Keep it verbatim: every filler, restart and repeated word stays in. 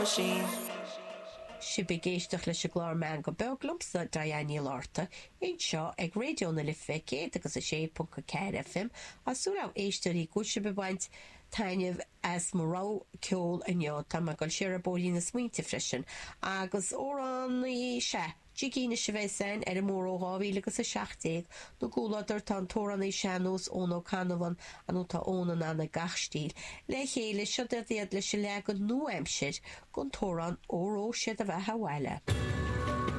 machine. Sibh ag éisteacht leis an gclár Meangadh Beag liomsa Diane Ní Lárta anseo ag Raidió na Life céad agus a sé ponc a ceathair FM Tá súil agam a éisteoirí go bhfuil sibh ag baint taitneamh as mo rogha ceoil inniu tá mé ag dul siar ar bóithrín na smaointe freisin agus amhránaí se Jigína se bheith sein ar an mór ó dhá mhíle agus a seacht déag nó gúladar tá an t-amhránaí sean-nóis Eoin Ó Cannabháin an tá ón an anna gach stíl. Le chéile seo iad leis an leagan nua-aimseartha den amhrán Óró Sé do Bheatha 'Bhaile.